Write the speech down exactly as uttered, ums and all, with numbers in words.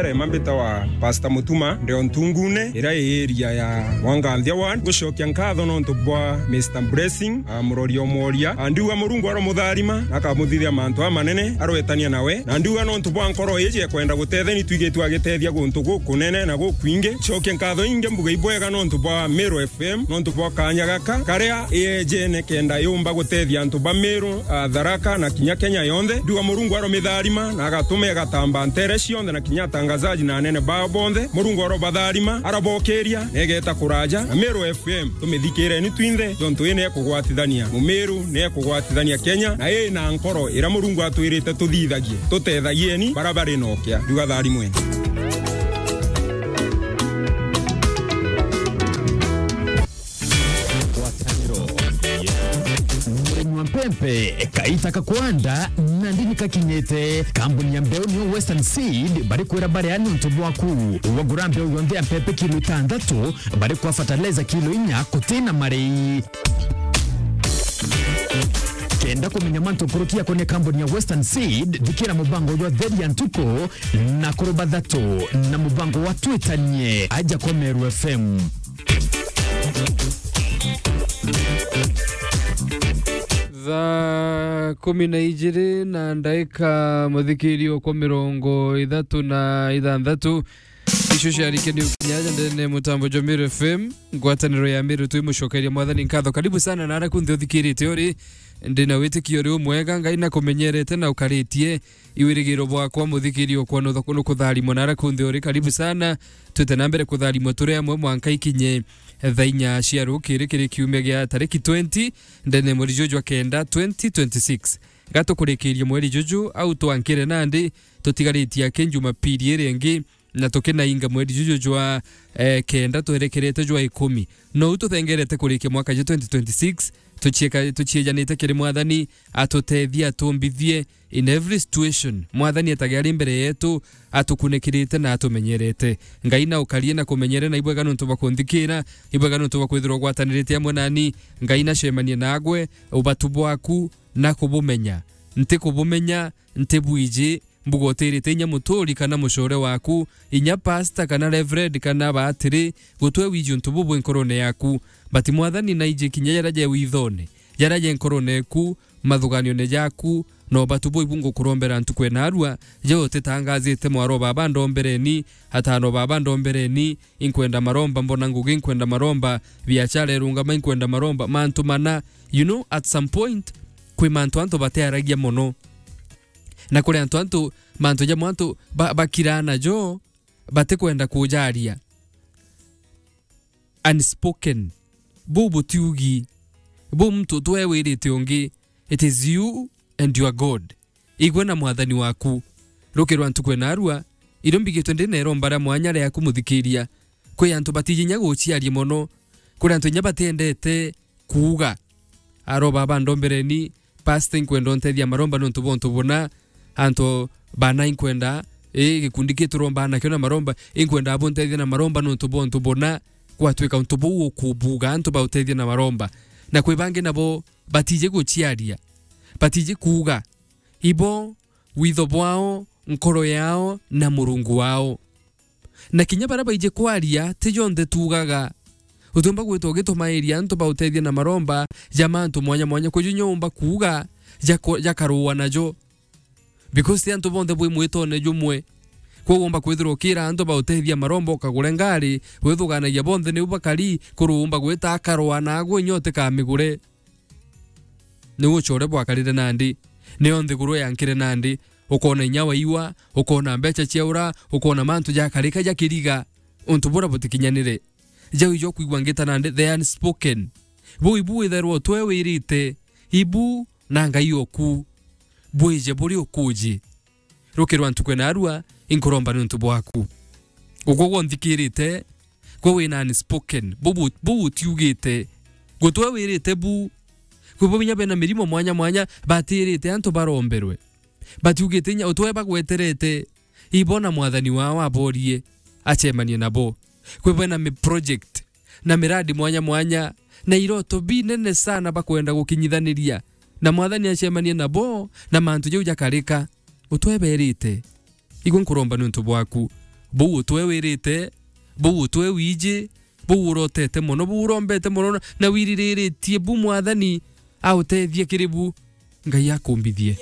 Rema mbitawa Pastor Mutuma, ndio Ntungune, iria i area ya Mwanganthia Ward. Ngucokia nkatho nontu bwa Mister Blessing, a, murori o mworia. A, ndiuga Murungu aromutharima, na akamuthithia mantu amanene, arwetania nawe. Na ndiuga nontu bwa nkoro iji ekwenda gutetheni, twigitwe agitethia guntu gukunene na gukwingi. Cokia nkatho ingi mbuga ibwega nontu bwa Meru F M, nontu bwa kanya gaka, karia iyejene kenda yumba gutethia antu ba Meru, a, Tharaka na kinya Kenya yonthe. Ndiuga Murungu aromitharima, na agatuma igatamba ntere cionthe na kinya atangazaji na anene bao bonthe. Murungu arobatharima, arabokiria, na igeta kuraja. Na Meru F M, tumithikireni twinthe, jontu ii ni ekugwatithania Mumiru, ni ekugwatithania Kenya, na ii na nkoro iria Murungu atwirite tuthithagie. Tutethagieni bara bari na ukia. Ndiuga tharimweni. Ngwataniro. Murimi wa mpempe, kaita kakwanda, na ndini kakinyite. Kambuni ya mbeu niyo Western Seed, bari kwira baria ni untu bwaku. Wagura mbeu yonthe ya mpempe kilo itantatu, bari kwa fertilizer kilo inya, kutina marei. Kenda kumenya mantu nkuruki yakonia kambuni ya Western Seed, thikira mubango jwa Theri ya Ntuku na kuru bathatu na mubango wa Twitanie aja kwa Meru F M. Thaa kumi na ijiri na ndaika, muthikiri okwa mirongo ithatu na ithanthatu. Icio ciarike ni ukinya aja ndene mutambo jwa Meru F M, ngwataniro ya Meru, twi mucokeria Mwathani nkatho. Karibu sana na ara kunthe uthikirite uri, ndina witikio uri umwega, Ngai na kumenyerete na ukaritie. Iwirigiro bwakwa, muthikiri okwa, nutha-, nukutharimwa na ara kunthe uri. Karibu sana. Twite na mbere kutharimwa turi amwe mwanka ikinye thaa inya cia rukiri, kiri kiumia gia tariki twenty, ndene mweri juju jwa kenda, twenty twenty-six. Gatukurikirie mweri juju, au twankire nandi, tutigaritie aki Jumapili iri ingi, na tukinainga mweri juju jwa, eh, kenda, twerekerete jwa ikumi. Nou tuthengerete kurikia mwaka jwa twenty twenty-six, tuchieka-, tuchiejanite kiri Mwathani, atutethie, atumbithie in every situation. Mwathani etage ari mbere yetu, atukunikirite na atumenyerete. Ngai na ukarie na kumenyere, na ibwega nontu bwa kunthikira, ibwega nontu bwa kwithirwa ugwatanirite amwe nani. Ngai na cemanie nagwe, ubatu bwaku na kubumenya. Nti kubumenya, nti bwiji, mbuga utirite inya muturi kana mucore waku, inya pastor kana reverend kana batiri, gutwe wiji untu bubu nkorone yaku. But Mwathani, naiji kinya jaria je withone, jaria je nkorone eku, mathuganione jaku, na ubatu buu ibu ngukurombera ntuku ya narua, je utitangazite mwaro baba ndombereni, atano baba ndombereni, inkwenda maromba, mbona ngugi inkwenda maromba, biachara irungama inkwenda maromba, mantu mana, you know, at some point, kwi mantu antu batearagia mono. Na kuri antu, antu, mantu jamwe antu ba-, bakiraa najo, batikwenda kujaria. Unspoken. Buu butiugi. Buu muntu twewirite ungi. It is you and your God. Igwe na Mwathani waku. Ruki rwa ntuku ya narua, irio mbigitwe ndi na iromba ria mwanya riaku, muthikiria. Kwi antu batiji inya guciaria mono. Kuri antu inya batiendete kuuga. Aro baba ndombereni, pastor, inkwenda untethia maromba nontu bwa untu buna, antu bana inkwenda, ii, gikundi kitu romba nakio na maromba, inkwenda abuntethia na maromba nontu bwa untu buna, gwatwika untu buu ukubuga antu bautethia na maromba. Na kwi bangi nabo batiji guciaria, batiji kuuga, ibo, witho bwao, nkoro yao, na Murungu wao. Na kinya baria baiji kwaria, ti jonthe tuugaga. Utiumba gwita ugitumairia antu bautethia na maromba ja mantu mwanya mwanya. Kwi ju inya umba kuuga jako-, jakarua najo. Because ti antu bonthe bwi mwitone jumwe. Kwou umba kwithirwa ukira antu bautethia maromba, ukagure ngari, withuganagia bonthe niu bakari, kuru umba gwita akarua nagwe inya utikamigure. Niu ucore bwakarire nandi, niyo nthiguru yankire nandi, ukona inya waiwa, ukona mbecha ciaura, ukona mantu jakarika jakiriga, untu bura butikinyanire. Jau ijo kwigua ngita nandi, the unspoken. Buu ibu withairwa utwe wirite, ibu na Ngai oku. Bwije buri ukuji. Ruki rwa ntuku ya narua, inkuromba niuntu bwaku. Ugwe gwe unthikirite, gwe wina unspoken, bubu, bubu utiugite. Gutwe wirite bu. Kwi bo binya bena mirimo mwanya mwanya, batirite antu baromberwe. Batiugite inya utwe bagweterete. Ibo na mwathani wao aborie, acemanie nabo. Kwi bo bena mi-, project na miradi mwanya mwanya, na iroto binene sana bakwenda gukinyithaniria. Na mwathani acemanie nabo, na mantu jau jakarika. Utwe berite. Igwe nkuromba niuntu bwaku. Buu utwe wirite, buu utwe wiji, buu urotete mono, buu urombete mono na, na wiririritie bu Mwathani autethie kiri bu, Ngai akumbithie.